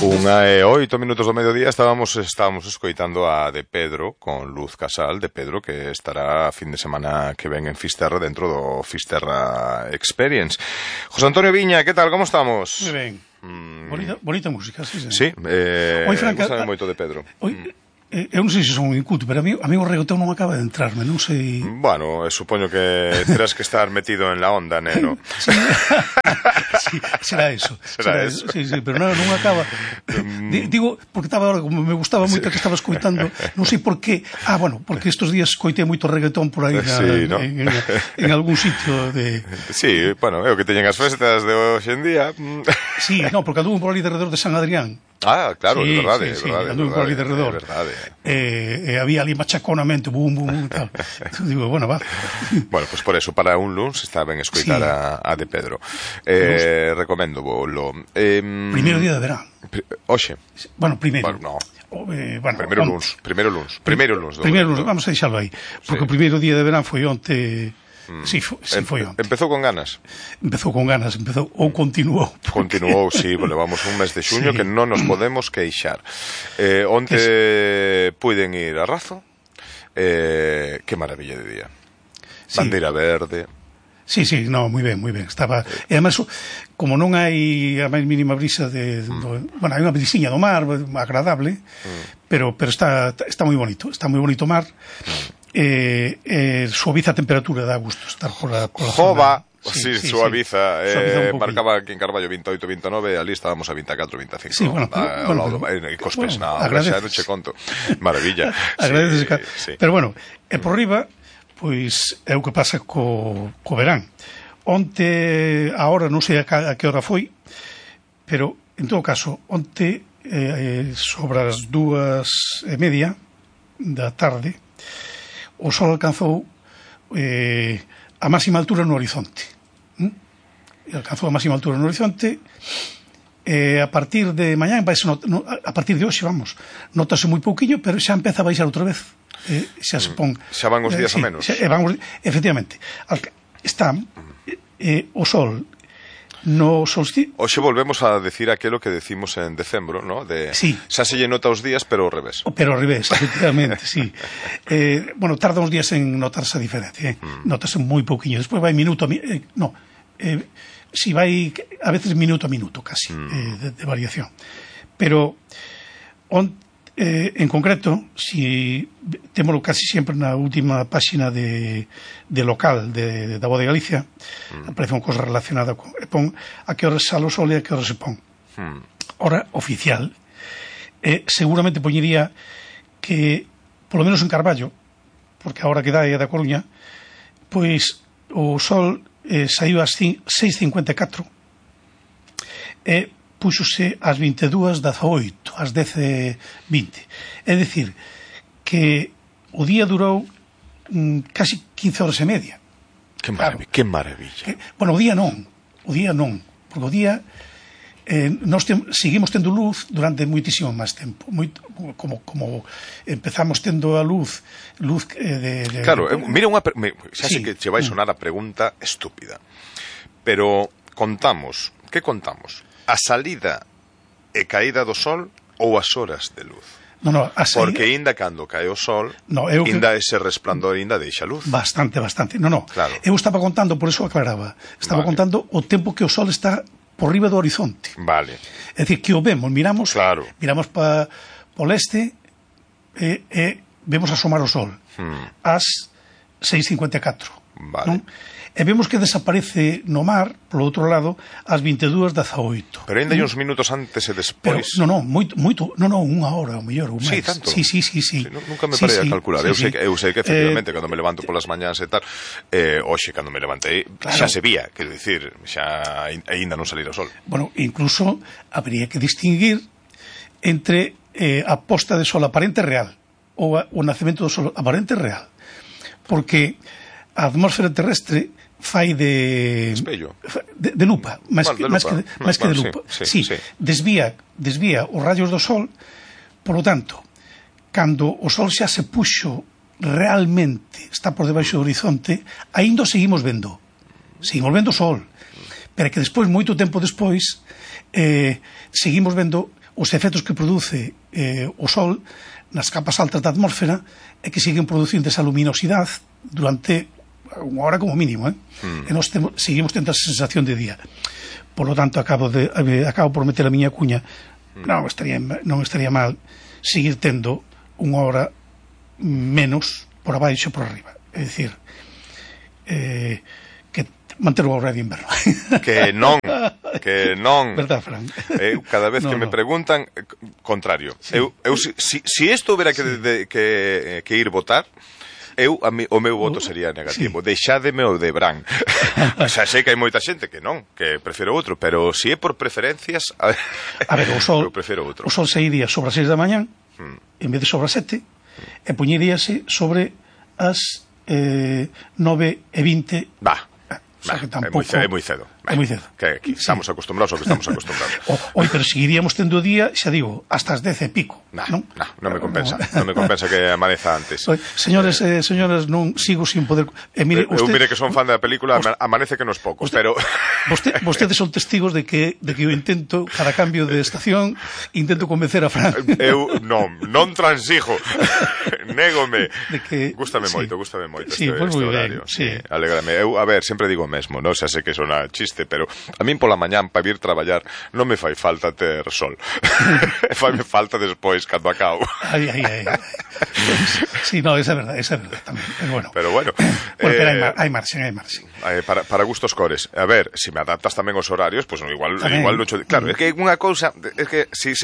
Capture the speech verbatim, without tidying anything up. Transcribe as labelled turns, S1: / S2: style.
S1: Unha e oito minutos do mediodía estábamos estábamos escoitando a de Pedro con Luz Casal, de Pedro, que estará a fin de semana que ven en Fisterra dentro do Fisterra Experience. José Antonio Viña, que tal, como estamos?
S2: Moi ben. Mm. Bonita, bonita música, sí, sí.
S1: Sí, eh,
S2: Oi, Franca,
S1: sabe moito de Pedro.
S2: Oi, mm. Eh, eu non sei se son inculto, pero a mí, a mí o reggaetón non acaba de entrarme, non sei...
S1: Bueno, supoño que terás que estar metido en la onda, neno.
S2: Sí, sí, será eso.
S1: Será, será eso.
S2: Sí, sí, pero non, non acaba... Digo, porque estaba ahora, como me gustaba moito que estaba escoitando, non sei por qué... Ah, bueno, porque estes días coitei moito reggaetón por aí na,
S1: sí, ¿no?
S2: en, en, en algún sitio de...
S1: Sí, bueno, é o que teñen as festas de hoxe en día.
S2: Sí, no, porque anduvo por ali de redor de San Adrián.
S1: Ah, claro,
S2: sí,
S1: é verdade,
S2: sí,
S1: é verdade.
S2: Sí, anduve por ali de redor.
S1: É verdade.
S2: Eh, eh, había ali machaconamente, bum, bum, bum, tal. Digo, bueno, va.
S1: Bueno, pues por eso, para un luns está ben escoitar sí. a, a de Pedro. Eh, recomendo volo. Eh,
S2: primeiro día de verán.
S1: Oxe.
S2: Bueno, primeiro.
S1: Bueno, no.
S2: Eh, bueno,
S1: primeiro luns, primeiro luns, primeiro luns.
S2: Primeiro luns, vamos a deixarlo aí. Porque sí. O primeiro día de verán foi onte...
S1: Mm.
S2: Sí, foi, sí, foi onte.
S1: Empezou con ganas.
S2: Empezou con ganas, empezou ou continuou.
S1: Porque... Continuou, sí, levamos un mes de xuño sí. que non nos podemos queixar. Eh, onte es... puiden ir a Razo. Eh, que maravilla de día. Sí. Bandeira verde.
S2: Sí, sí, no, moi ben, moi ben. Estaba, e además, como non hai a máis mínima brisa de, mm. do, bueno, hai unha brisiña do mar agradable, mm. pero pero está está moi bonito, está moi bonito o mar. Mm. Eh, eh, suaviza a temperatura, dá gusto estar por la, por la
S1: Jova,
S2: zona.
S1: sí,
S2: sí,
S1: suaviza,
S2: sí.
S1: Eh,
S2: suaviza
S1: marcaba aquí en Carballo veintiocho, veintinueve, ali estábamos a veinticuatro, veinticinco.
S2: Sí, bueno, pero,
S1: a,
S2: bueno,
S1: lado,
S2: pero,
S1: en Cospes,
S2: bueno,
S1: no, xa non che conto. Maravilla.
S2: Agradeces,
S1: sí, sí.
S2: Pero bueno, e por riba, pois é o que pasa co, co verán. Onte, a hora, non sei a, a que hora foi, pero, en todo caso, onte, eh, sobre as dúas e media da tarde, o sol alcanzou eh, a máxima altura no horizonte. ¿Mm? Alcanzou a máxima altura no horizonte e eh, a partir de mañá, no, no, a partir de hoxe, vamos, notase moi pouquiño, pero xa empeza a baixar outra vez. Eh, xa se pon...
S1: Xa van os días eh, sí, a menos.
S2: Xa, van os, efectivamente. Está eh, o sol no solsticio.
S1: Hoxe volvemos a decir aquilo que decimos en decembro, ¿no? De
S2: sí.
S1: xa se lle nota os días, pero ao revés.
S2: Pero ao revés, efectivamente, sí. Eh, bueno, tarda uns días en notarse a diferencia, eh? Mm. Notase moi pouquiño. Despois vai minuto a minuto, eh, no, eh, si vai a veces minuto a minuto casi, mm. eh, de, de variación. Pero on, eh, en concreto, si témolo casi sempre na última páxina de, de local de, de da Voz de Galicia, mm. aparece unha cosa relacionada con e pon a que hora sale o sol e a que hora se pon. Mm. Hora oficial, eh, seguramente poñería que, polo menos en Carballo, porque a hora que dá é da Coruña, pois o sol eh, saiu ás seis cincuenta e catro e púxose ás vinte e dúas dezaoito, ás dez e vinte. É dicir, que o día durou mm, casi quince horas e media.
S1: Que maravilla. Claro. Que maravilla.
S2: Que, bueno, o día non, o día non, porque o día eh, nós tem, seguimos tendo luz durante moitísimo máis tempo, moito, como, como empezamos tendo a luz, luz eh, de, de...
S1: Claro, de, mira unha... Me, xa
S2: sí.
S1: sei que che vai sonar a pregunta estúpida, pero contamos, que contamos? A salida e caída do sol ou as horas de luz?
S2: No, no, a saída...
S1: Porque inda cando cae o sol,
S2: no, eu
S1: inda
S2: que...
S1: ese resplandor inda deixa luz.
S2: Bastante, bastante. No, no,
S1: claro.
S2: Eu estaba contando, por eso aclaraba, estaba vale. contando o tempo que o sol está por riba do horizonte.
S1: Vale.
S2: É dicir, que o vemos, miramos,
S1: claro.
S2: miramos para o leste e, e vemos asomar o sol hmm. ás seis cincuenta e catro.
S1: Vale.
S2: Non? E vemos que desaparece no mar, polo outro lado, ás vinte e dúas dezaoito.
S1: Pero ainda hai uns minutos antes e despois.
S2: Pero, non, non, moito, moito, non, non, unha hora, o mellor, un
S1: sí,
S2: mes.
S1: Tanto.
S2: Sí, sí, sí, sí.
S1: sí nunca me
S2: sí,
S1: parei
S2: sí,
S1: a calcular.
S2: Sí,
S1: eu, sei,
S2: sí.
S1: eu sei que, efectivamente,
S2: eh,
S1: cando me levanto polas mañás e tal, eh, hoxe, cando me levantei, claro. xa se vía, quero dicir, xa aínda non salir o sol.
S2: Bueno, incluso habría que distinguir entre eh, a posta de sol aparente real ou a, o nacemento do sol aparente real. Porque a atmósfera terrestre fai de
S1: espello,
S2: de, de lupa, máis
S1: bueno,
S2: que,
S1: de
S2: máis que,
S1: lupa.
S2: máis que
S1: bueno,
S2: de lupa.
S1: Sí, sí,
S2: sí,
S1: sí.
S2: Desvía, desvía os rayos do sol, por lo tanto, cando o sol xa se puxo realmente, está por debaixo do horizonte, aínda seguimos vendo. Seguimos vendo o sol. Pero que despois, moito tempo despois, eh, seguimos vendo os efectos que produce eh, o Sol nas capas altas da atmósfera é que siguen producindo esa luminosidade durante unha hora como mínimo, eh? Mm. E nós temos, seguimos tendo esa sensación de día. Por lo tanto, acabo, de, acabo por meter a miña cuña, mm. non, estaría, non estaría mal seguir tendo unha hora menos por abaixo e por arriba. É dicir, eh, que manter o horario de inverno.
S1: Que non, que non.
S2: Verdad, Fran?
S1: Eu, cada vez no, que me no. preguntan, contrario. Sí. Eu, eu, si, si isto houbera que, sí. de, que, que ir votar, eu, a mi, o meu voto sería negativo. Sí. Deixádeme o de Bran. O sea, sei que hai moita xente que non, que prefiro outro, pero se si é por preferencias, a ver,
S2: a ver o sol,
S1: eu prefiro outro.
S2: O sol sairía sobre as seis da mañán, hmm. en vez de sobre as sete, hmm. e poñeríase sobre as eh, nove e vinte.
S1: Va.
S2: O sea, que
S1: tampouco... É moi cedo.
S2: É moi cedo.
S1: Que, que estamos sí. acostumbrados ao que estamos acostumbrados.
S2: Oi, pero seguiríamos tendo o día, xa digo, hasta as dez e pico.
S1: Nah,
S2: non?
S1: Nah, non me compensa. Non me compensa que amaneza antes.
S2: Oi, señores e eh, señoras, non sigo sin poder... Eh, mire,
S1: eu,
S2: usted...
S1: eu mire que son fan da película, usted... amanece que nos poucos,
S2: usted...
S1: pero...
S2: Vostede, vostedes son testigos de que, de que eu intento, cada cambio de estación, intento convencer a Fran.
S1: Eu non, non transijo. Négome.
S2: De que...
S1: Gústame
S2: sí.
S1: moito, gústame moito
S2: sí,
S1: este,
S2: pues
S1: este
S2: muy
S1: horario.
S2: Ben, sí.
S1: Sí, alégrame. Eu, a ver, sempre digo o mesmo, non? Xa sei que sona chiste, pero a min pola mañán para vir traballar non me fai falta ter sol. Faime falta despois cando acabo.
S2: Ai, ai, ai. Sí, no, esa é verdade, esa é verdade tamén. Pero bueno.
S1: Pero bueno.
S2: Bueno,
S1: eh,
S2: pero hai, mar, hai marxen, hai marxen.
S1: Eh, para, para gustos cores. A ver, se si me adaptas tamén os horarios, pois pues, igual, igual non... Claro, é que unha cousa, é que si